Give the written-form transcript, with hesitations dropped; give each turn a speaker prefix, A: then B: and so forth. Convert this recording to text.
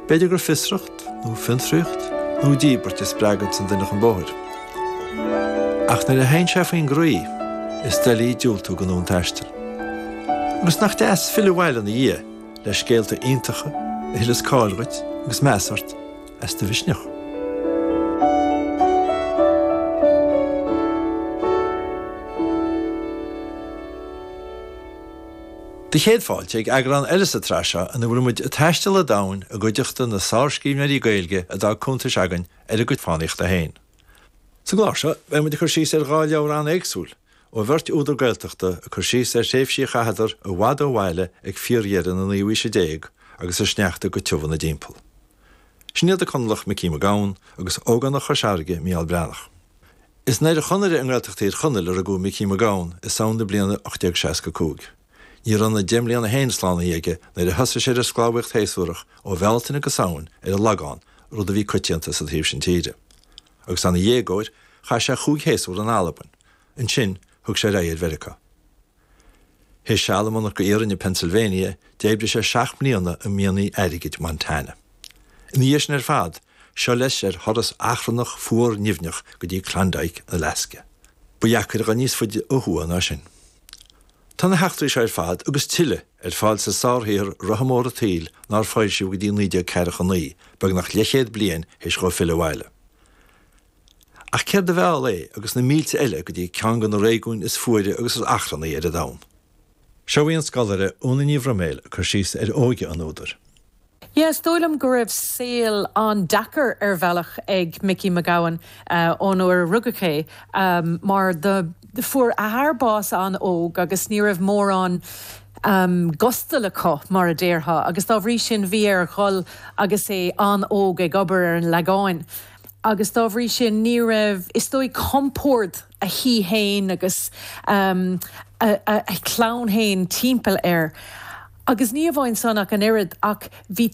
A: B'fhéidir gur fiosracht, nó fiontraíocht, nó díbirt a spreaganns an duine chun bóthair. Ach nuair a théann sé faoin gcroí, is doiligh diúltú don fhonn taistil. Agus nach deas filleadh abhaile ina dhiaidh le scéalta iontacha a thuilleas cáil dhuit agus meas ort as do mhisneach. Do chéad fáilte ag eagrán eile sa tsraith seo ina bhfuil muid ag taisteal an domhain i gcuideachta na sárscríbhneoirí Gaeilge a d'fhág cuntais againn ar a gcuid fánaíochta féin. Sa gclár seo, beidh muid ag cur síos ar dhá leabhar an-éagsúil ó bheirt údar Gaeltachta ag cur síos ar thréimhsí a chaitheadar i bhfad ó bhaile ag fíordheireadh na naoú haoise déag agus an sneachta go tiubh ina dtimpeall. Sin iad an Conallach Micí Mac Gabhann agus ógánach Chois Fharraige Mícheál Breathnach. Is i nDoire Chonaire i nGaeltacht Thír Chonaill a rugadh Micí Mac Gabhann i Samhain na bliana 1865. Ní raibh na deich mbliana féin slánaithe aige nuair a thosaigh sé ar an sclábhaíocht shéasúrach ó Bhealtaine go Samhain ar an Lagán, rud a bhí coitianta sa taobh sin tíre. Agus é ina dhéagóir, chaith sé chúig shéasúr in Albain. Ansin, thug sé ar aghaidh ar Mheiriceá. Théis seal i monarcha iarainn i Pennsylvania, d'oibrigh sé 7 mbliana i mianaigh airgid Montana. Ina dhiaidh sin ar fad, seo leis ar thuras achrannach fuar nimhneach go dtí Klondike in Alaska. Ba dheacair a dhul níos faide ó thuaidh ná sin. Tá na heachtraí seo ar fad, agus tuilleadh, ar fáil sa sárshaothar Rotha Mór an tSaoil nár foilsíodh go dtí 1949, beagnach leathchéad bliain théis dhó filleadh abhaile. Ach céard a mheall é agus na mílte eile go dtí ceann de na réigiúin is fuaire agus is achrannaí ar an domhan? Seo í an scoláire Úna Ní Bhroiméil ag cur síos ar óige an údair.
B: Yeah, is dóigh liom go raibh saol an-deacair ar bhealach ag Micí Mac Gabhann ón uair a rugadh é mar do fuair a athair bás an-óg agus ní raibh mórán gustal acu mar a déarfá agus dá bhrí sin bhí air dhul agus é an-óg ag obair ar an Lagáin. agus dá bhrí sin ní raibh, is dóigh, compord a thí fhéin agus a chlann fhéin timpeall air. Agus ní amháin san ach an oiread, ach bhí.